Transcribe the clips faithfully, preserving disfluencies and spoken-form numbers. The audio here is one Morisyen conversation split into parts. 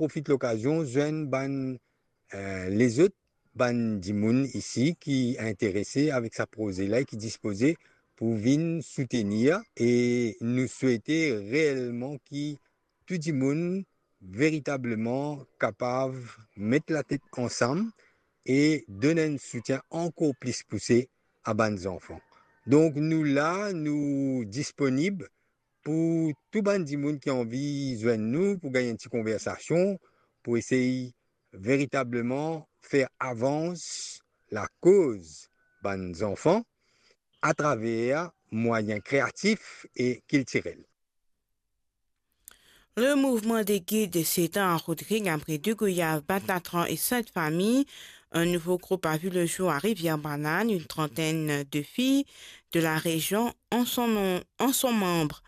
profit lokazion zwenn bann, eh, lezot bann dimoun isi ki interese avek sa proze la e ki dispoze pou vinn soutenir, e nou swete reelman ki tou dimoun veritableman kapav met latet ansam e donn enn soutien ankor plis pouse a bann zanfan. Donk nou la, nou disponib pou tou bann dimoun ki anvi zwenn nou pou gagn enn ti konversasion, pou esey veritableman fer avans lakoz bann zanfan atraver mwayin kreatif e kiltirel. Le mouvement des guides s'étend à Rodrigues après Deux Goyaves, Batatran et Sainte-Famille. Un nouveau groupe a vu le jour à Rivière-Banane, une trentaine de filles de la région en sont, nom- en sont membres.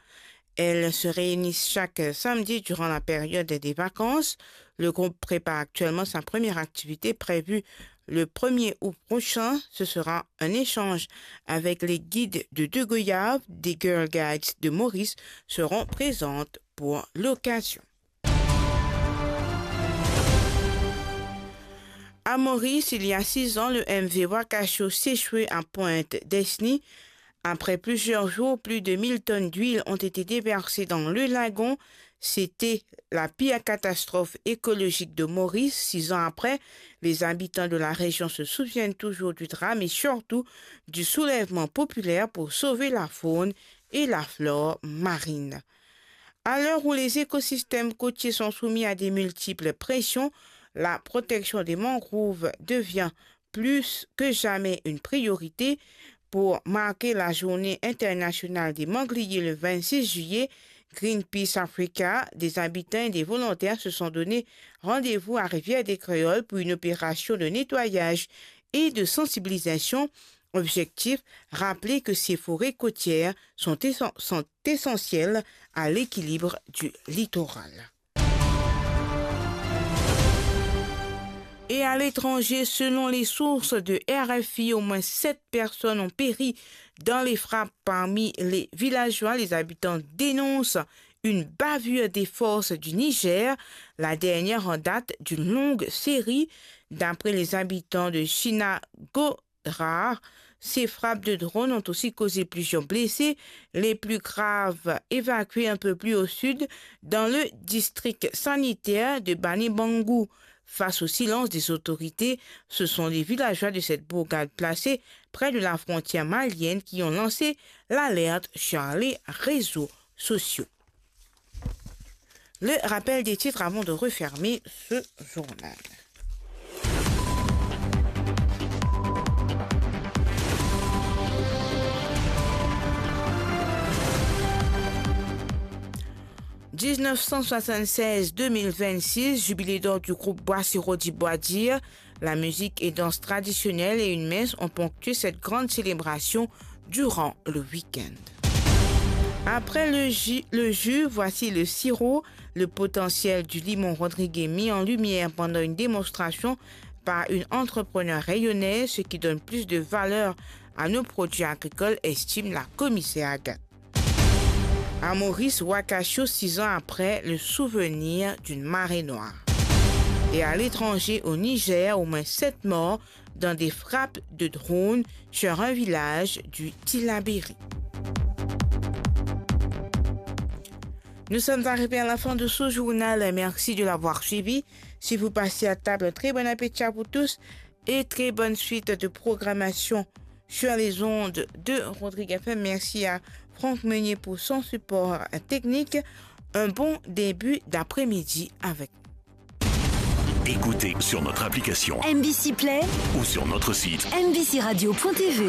Elles se réunissent chaque samedi durant la période des vacances. Le groupe prépare actuellement sa première activité prévue le premier août prochain. Ce sera un échange avec les guides de Deux Goyaves, des Girl Guides de Maurice seront présentes pour l'occasion. À Maurice, il y a six ans, le M V Wakasho s'échouait à Pointe Desny. Après plusieurs jours, plus de mille tonnes d'huile ont été déversées dans le lagon. C'était la pire catastrophe écologique de Maurice. Six ans après, les habitants de la région se souviennent toujours du drame et surtout du soulèvement populaire pour sauver la faune et la flore marine. À l'heure où les écosystèmes côtiers sont soumis à de multiples pressions, la protection des mangroves devient plus que jamais une priorité. Pour marquer la journée internationale des mangliers le vingt-six juillet, Greenpeace Africa, des habitants et des volontaires se sont donné rendez-vous à Rivière des Créoles pour une opération de nettoyage et de sensibilisation. Objectif, rappeler que ces forêts côtières sont essen-, sont essentielles à l'équilibre du littoral. Et à l'étranger, selon les sources de R F I, au moins sept personnes ont péri dans les frappes parmi les villageois. Les habitants dénoncent une bavure des forces du Niger, la dernière en date d'une longue série, d'après les habitants de Chinago. Rares. Ces frappes de drones ont aussi causé plusieurs blessés, les plus graves évacués un peu plus au sud, dans le district sanitaire de Banibangou. Face au silence des autorités, ce sont les villageois de cette bourgade placée près de la frontière malienne qui ont lancé l'alerte sur les réseaux sociaux. Le rappel des titres avant de refermer ce journal. Dix-neuf cent soixante-seize, deux mille vingt-six, jubilé d'or du groupe Bois Sirop di Bwa Dir, la musique et danse traditionnelle et une messe ont ponctué cette grande célébration durant le week-end. Après le jus, le jus, voici le sirop. Le potentiel du limon rodriguais mis en lumière pendant une démonstration par une entrepreneur réunionnaise, ce qui donne plus de valeur à nos produits agricoles, estime la commissaire Agathe. À Maurice, Wakasho, six ans après, le souvenir d'une marée noire. Et à l'étranger, au Niger, au moins sept morts dans des frappes de drones sur un village du Tillabéri. Nous sommes arrivés à la fin de ce journal. Merci de l'avoir suivi. Si vous passez à table, très bon appétit à vous tous et très bonne suite de programmation sur les ondes de Rodrigue F M. Merci à Franck Meunier pour son support technique. Un bon début d'après-midi avec nous. Écoutez sur notre application M B C Play ou sur notre site M B C radio point T V.